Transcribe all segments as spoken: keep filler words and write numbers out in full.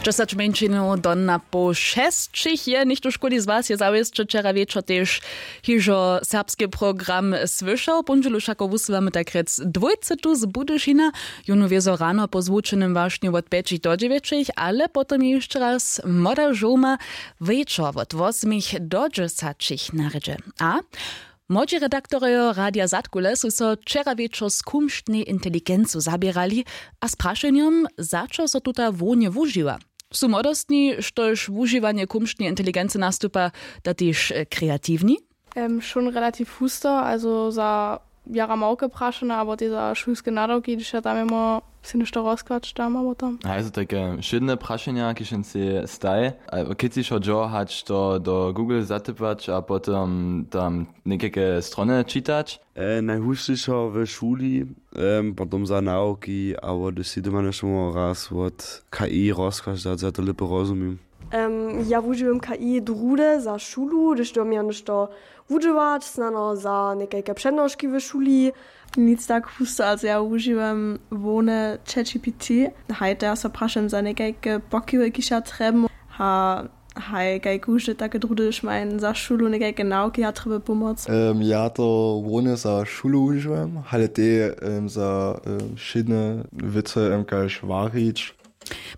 Dźesać mjeńšinow do na poł šesćich je něchtó škuli z was je zawěsće wčera wječor tež hižo serbski program słyšał póndźelu wšako wusyłamy tak rjec dwójce tu z budyšina. Jónu wězo rano po zwučenym wašnju wot pjećich do dźewjećich ale potom je hišće raz młoda žołma wječor wot wosmich do dźesaćich na rědźe. A młodźi redaktorjo radija zadkule su so wčera wječor z kumštnej inteligencu zaběrali a z prašenjom za čo so tuta hłownje wužiwa. Su młodostni štož wužiwanje kumštneje inteligency nastupa da tež kreatiwni? Em, schon relativ husto, also za jara małke prašene abo tež za šulske nadawki hdyž ja tam jemo sej něšto rozkłać tam abo tam. Haj su tajke wšědne prašenja kiž jen sej staj, kěcišo dźo hač to do google zatypać a potom tam někajke strony čitać. Najhušćišo w šuli, potom za nawki abo hdyž sej doma něšto móhło raz wot ki rozkłać dać za to lěpy rozumim. Ja wužiwam ki druhdy za šulu hdyž do mjeja něšto wudźěłać snano za někajke přednoški w šuli. Nic tak husto ale ja wužiwam hłowne chatgpt. Haj to ja so prašam za někajke pokiwy kiž ja trjebam. A haj kaj kóždy take druhdy hdyž ma jen za šulu někajke nawki ja trjebam pomoc. Ja to hłowne za šulu wužiwam hale tež za wšědne wěcy kaž warić.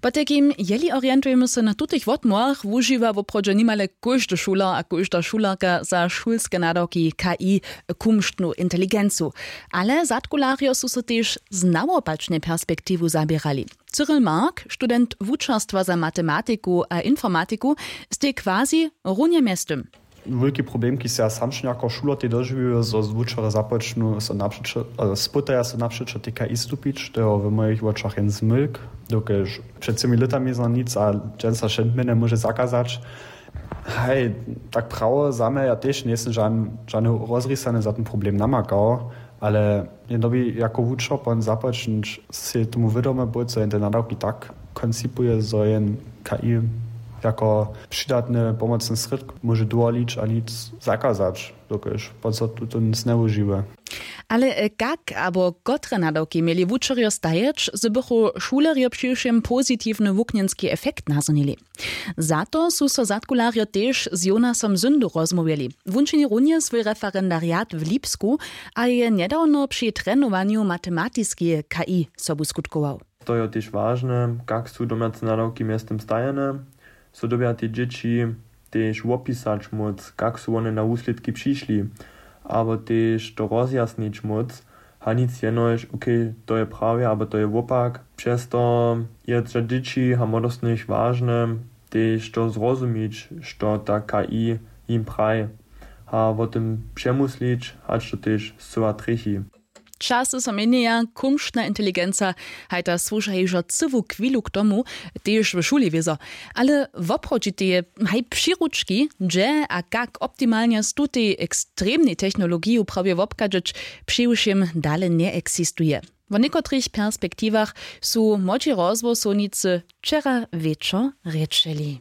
Potajkim jeli orientujemy so na tutych wotmołach wužiwa woprawdźe nimale kóždy šuler a kóžda šulerka za šulske nadawki ki kumštnu inteligencu. Ale zadkularjo su so tež z nawopačnej perspektiwu zaběrali. Cyril mark student wučerstwa za matematiku a informatiku, stej quasi runje mjeztym. Wulki problem kiž se ja samšenjako šuler tej dožiwił zo zwučerjo započnu so napřećo spytaja so napřećo tej ki stupić to je w mójich wočach jen zmylk. Dokelž před třěmi lětami zna nic a dźensa wšedmjenje móže zakazać. Haj, tak prawo za mje ja tež njejsym žany rozrisany za ten problem namakał. Ale je dobi jako wučer pon započnić sej tomu wědome być zo jen te nadawki tak koncipuje zo jen ki jako přidatny pomocny srědk móže dowolić a nic zakazać, dokelž pon so tutón znewužiwje. Ale kak abo kotre nadawki měli wučerjo stajeć zo bychu šulerjo přiwšěm pozitiwny wuknjenski efekt nazhonili? Za to su so zadkularjo tež z jonasom zyndu rozmołwjeli. Wón čini runje swój referendariat w lipsku a je njedawno při trenowanju matematiskeje ki sobu skutkował. To jo tež wažne kak su domjace nadawki mjeztym stajene. So dyrbja te dźěći tež wopisać móc kak su wone na wuslědki přišli, abo tež to rozjasnić móc. A nic jenož okay, to je prawje abo to je wopak. Přez to je za dźěći a młodostnych wažne tež to zrozumić što ta ki jim praji, a wo tym přemuslić hač to tež scyła trjechi. Časy so měnjeja, kumštna inteligenca haj ta słuša hižo cyłu chwilu k tomu, tež w šuli wězo. Ale woprawdźiteje haj přiručki hdźe a kak optimalnje z tutej ekstremnej technologiju prawje wobchadźeć, přiwšěm dale njeexistuje. Wo někotrych perspektiwach su młodźi rozhłosownicy wčera wječor rěčeli.